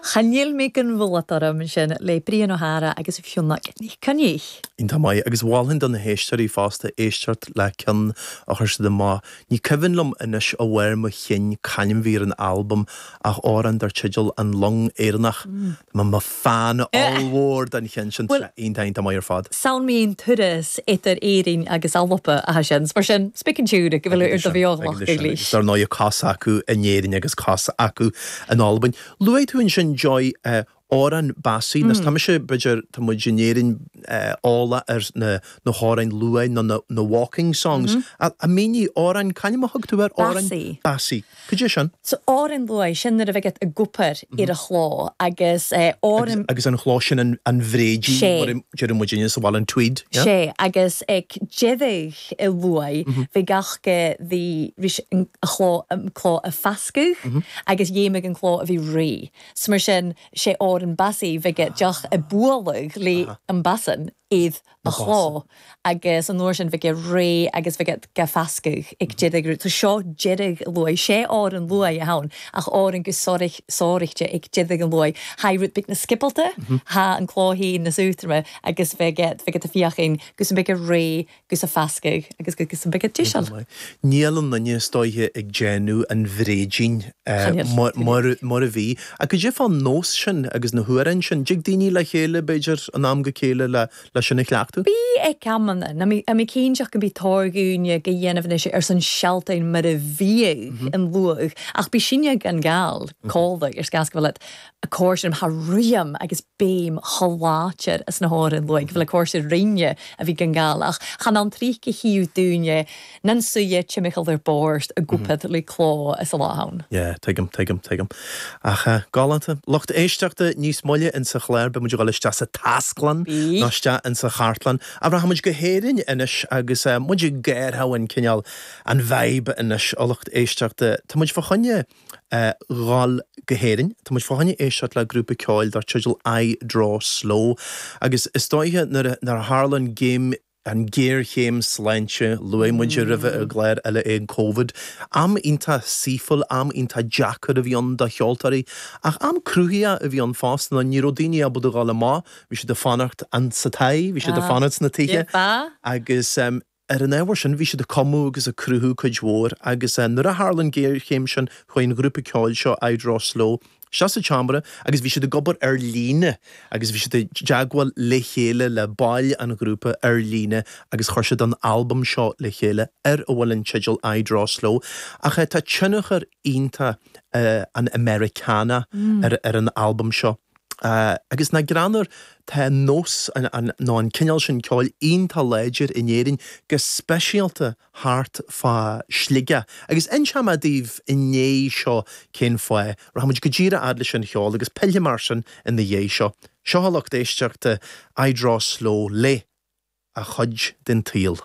Cha níl mé gan bhualadh orm ansin le Brian Ó hEára agus Fionnach Nic Coinnich. Iontach maith, agus mholfainn do na héisteoirí fosta éisteacht le ceann a chuir siad amach. Ní cuimhin liom anois ó bharr mo chinn c'ainm bhí ar an albam ach amhrán dar teideal An Long Éireannach. Tá mé i mo fan ollmhór den cheann sin, tá sé iontach iontach maith ar fad. Samhail mé an turas idir Éirinn agus Alba atá sin, mar sin, spic an siúr go bhfuil ar do bheoghach go glís. Agus dar ndóigh cos acu in Éirinn agus cos acu in Albain. Luaigh tú ansin, Joy, amhrán Bassie, nó tá mise, b'fhéidir, tá muid in Éirinn eolach ar na na hamhráin luaith nó na na waulking songs. A mínigh, amhrán, c'ainm a thug tú air? Amhrán Bassie. Bassie. Cad é sin? So amhrán luaith, sin nuair a bheadh ag obair ar an chló agus amhrán. Agus an chló sin an an bhréidín, Sé. mar a deireadh muidinne sa bhaile, an tweed, yeah? Sé, agus ag deireadh i luaith, bhí gach go bhí ris an chló an cló a fascadh agus dhéimigh an cló a bhí réidh. So mar sin, sé amhrán Bassie bheadh deoch a bualadh le an basan iad a chló agus an uair sin bheadh réidh agus bheadh ga fascadh ag deireadh rud. So seo deireadh luaith, sé amhrán luaith a ann ach amhrán go sáraíte ag deireadh an luaith. Tha rud beag na sciobailte, tha an cló féin na sútrama agus bheadh bheadh a fiachain gus an beidh réidh gus a fascadh agus gus an beidh deiseal. Níl aon duine is dóiche ag déanamh an bhréidín mar a bhí. Ach cad é fán nós sin agus na hamhráin sin? Dtig daoine le chéile, b'fhéidir, in am go chéile le sin a chleachtadh? Bí ag amanna. Ná mé cinnteach go mbí táirgiúine go dhéanamh anois ar son sealtáin mar a bhíodh an luadh, ach bí sinne gan gal, cólaigh, ar sceas go bhfuil a cóir thar riam agus béim sholáthar as na háireann luaigh go bhfuil a cóir rinne a bhí gan gal ach chan ann tríce shuíomh dúinne nan suidhe timcheall ar bord i gcupad le cló is a lá ann. Yeah, tuigim, tuigim, tuigim. Ach galánta. Lucht éisteachta, níos moille insa chlár beidh muid ag dul isteach sa taisclann Bí. nó isteach insa chartlann. Ach rachaidh muid go hÉirinn anois agus muid ag gáirtheadh an cineál, an vibe anois, a lucht éisteachta. Tá muid fá choinne dhul go hÉirinn. Tá muid fá choinne éisteacht le grúpa ceoil dar teideal I Draw Slow agus is dóiche nuair a tharla an géim, an ghéarchéim sláinte, luaigh muid roimhe i gclár eile é an Covid, am iontach saoithiúil, am iontach deacair a bhí ann do cheoltóirí ach am cruthaitheach a bhí ann fosta nó ní raibh daoine ábalta dhul amach, bhí siad ag fanacht insa tigh, bhí siad ag fanacht sna tithe agus. Ar an ábhar sin, bhí siad ag cumadh agus ag cruthú cuid mhór agus nuair a tharla an ghéarchéim sin, chuaigh an ghrúpa ceoil seo, I Draw Slow, isteach sa tseomra agus bhí siad ag obair ar líne agus bhí siad i dteagmháil le chéile, le baill an ghrúpa ar líne agus chuir siad an albam seo le chéile ar a bhfuil an teideal I Draw Slow. Ach tá tionchar iontach an Americana ar an albam seo. Agus nach greannmhar, tá an nós nó an cineál sin ceoil iontach láidir in Éirinn, go speisialta thart fá Shligeach. Agus inseoidh mé daoibh i ndiaidh seo cén fáth. Rachaidh muid go díreach fhad leis an cheol agus pillfidh mé air sin ina dhiaidh seo. Seo a lucht éisteachta, I Draw Slow le A Chuid den tSaol.